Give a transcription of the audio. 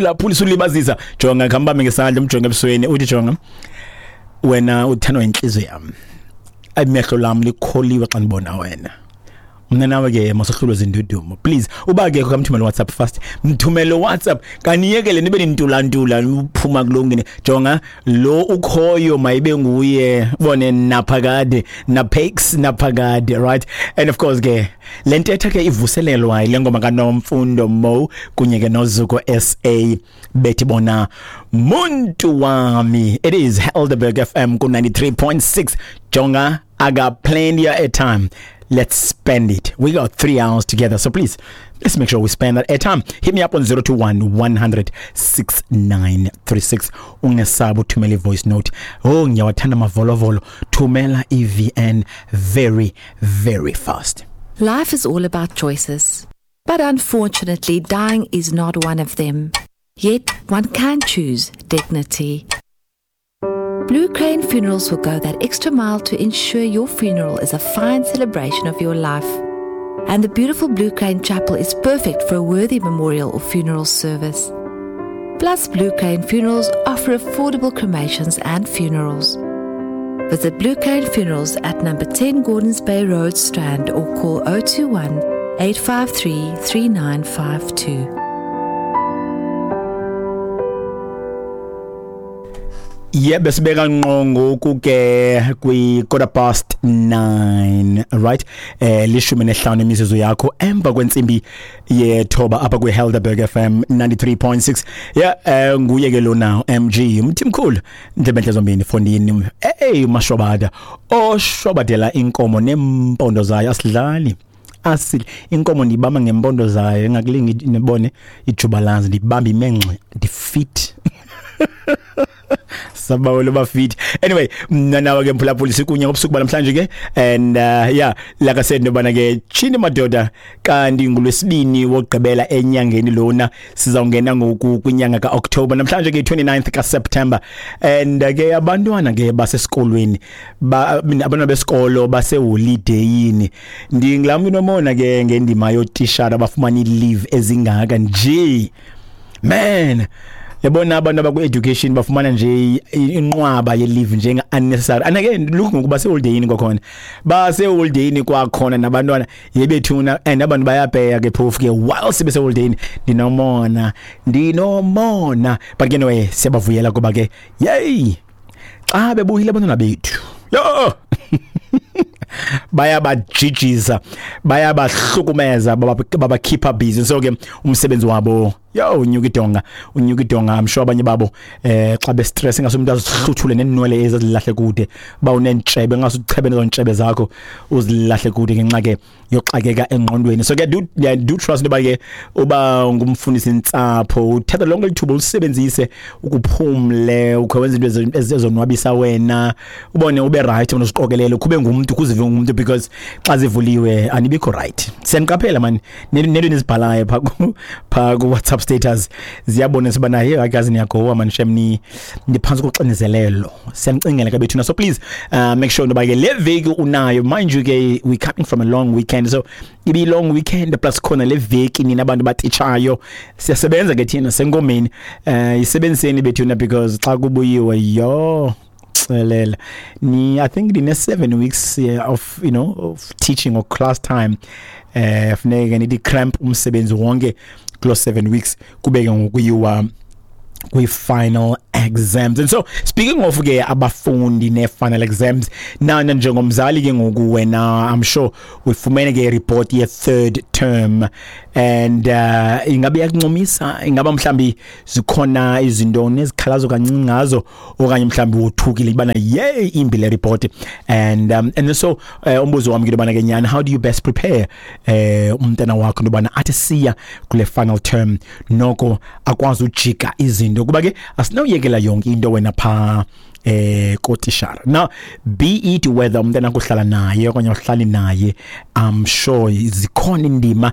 Laphulisa ulibazisa. Jonga, khambambe ngesandla, umjonge ebusweni, uthi, "Jonga, wena uthandwa inhliziyo yami, amehlo lami likholiwe xa ndibona wena. Mna nawe ke masohlulwe zindudumo." Please, uba ke kamthumele WhatsApp fast, mthumele WhatsApp. Kaniyekele nibe nintulantula uphuma kulongene. Jonga, lo ukhoyo mayibe nguye, bone naphakade napex naphakade, right? And of course ke le ntetha ke ivuselelwa ile ngoma kaNomfundo Mo kunye ke noZuko SA, bethi bona "Muntu Wami". It is Helderberg FM ku 93.6. Jonga, I got plenty of airtime. Let's spend it. We got 3 hours together, so please, let's make sure we spend that airtime. Hit me up on 021 100 6936. Ungesabi uthumela i-voice note. Oh, ngiyawathanda amavolovolo. Thumela i-VN very, very fast. Life is all about choices. But unfortunately, dying is not one of them. Yet, one can choose dignity. Blue Crane Funerals will go that extra mile to ensure your funeral is a fine celebration of your life. And the beautiful Blue Crane Chapel is perfect for a worthy memorial or funeral service. Plus, Blue Crane Funerals offer affordable cremations and funerals. Visit Blue Crane Funerals at number 10 Gordons Bay Road, Strand, or call 021 853 3952. Yebo, sibeka ngqo ngoku ke kwi 9:15, right? 15 imizuzu yakho emva kwentsimbi yethoba apha kwi Helderberg FM 93.6. Yeah, nguye ke lona MG Mthimkhulu, ndlebenhle zombini fondini. Hey, mashobada oshobadela inkomo nempondo zayo, asidlali asile inkomo, ndibamba ngempondo zayo, engakulingi nibone ijubalazi, ndibamba imenxe, ndifit sabawelo bafit. Anyway, mna nawe ke mphulaphuli sikunye ngobusuku banamhlanje ke. And yeah, like I said, nobana ke chini madoda, kanti ngolwesibini wokugqibela enyangeni lona, sizawungena ngoku kwinyanga kaOctober, namhlanje ke 29th kaSeptember. And ke abantwana ke basesikolweni, abantwana besikolo baseholidayini. Ndingulaa mntu nomona ke ngendima yootishara abafumana i-leave ezingaka nje, man. Yabona, abantu abakwi-education bafumana nje inqwaba ye-leave njenga-unnecessary. And again, look, ngoku baseholidayini kwakhona, baseholidayini kwakhona nabantwana yebethuna, and abantu bayapeya ke phofu ke whilst beseholidayini. Ndinomona, ndinomona, but ke anyway, siyabavuyela kuba ke yeyi, xa bebuyile abantwana bethu, yo, bayabajijisa, bayabahlukumeza, babakhipha busy. So ke umsebenzi wabo, yo, unyuka idonga, unyuka idonga. I'm sure abanye babo xa be stress, ingase umuntu azihluthule nenwele ezilahle kude, ba unentshebe, ngase uchebe nezo ntshebe zakho uzilahle kude ngenxa ke yoxakeka engqondweni. So ke do, yeah, do trust into ke uba ngumfundisi intsapho, uthatha lonke lithuba ulisebenzise ukuphumle, ukhe wenza into ezonwabisa wena, ubone ube right, unoziqokelela, kube ngumuntu, kuzive ngumuntu, because xa zivuliwe anibikho right. Siyaniqaphela man, nento nizibhalayo pha ku WhatsApp status ziyabonisa uba naye akazi niyagowa man, shem, ni niphantsi koxinizelelo. Siyanicingela ke bethuna. So please, make sure intoba ke le veki unayo. Mind you ke, we coming from a long weekend, so ibi long weekend plus khona le veki, nina abantu batitshayo, siyasebenza ke thina senkomeni. Isebenziseni bethuna, because xa kubuyiwe, yo, xelela ni, I think ndine 7 weeks of you know of teaching or class time. Funeke nithi cramp umsebenzi wonke kulo 7 weeks, kubeke ngokuyiwa kwi-final exams. And so, speaking of ke abafundi ne-final exams, nana njengomzali ke ngoku wena, I'm sure uyifumene ke report ye-third term, and ingabe iyakuncomisa, ingaba mhlambi zikhona izinto nezikhalazo kancinci ngazo, okanye mhlambi wothukile ibana yey, imbi le report. And so umbuzo wami ke yobana ke nyana, how do you best prepare umntana wakho into athi siya kule final term noko akwazi ujika izinto, kuba ke asinawuyekela yonke into wena pha kotishara? Now, be it whether umntana kuhlala naye okanye uhlali naye, I'm sure zikhona indima.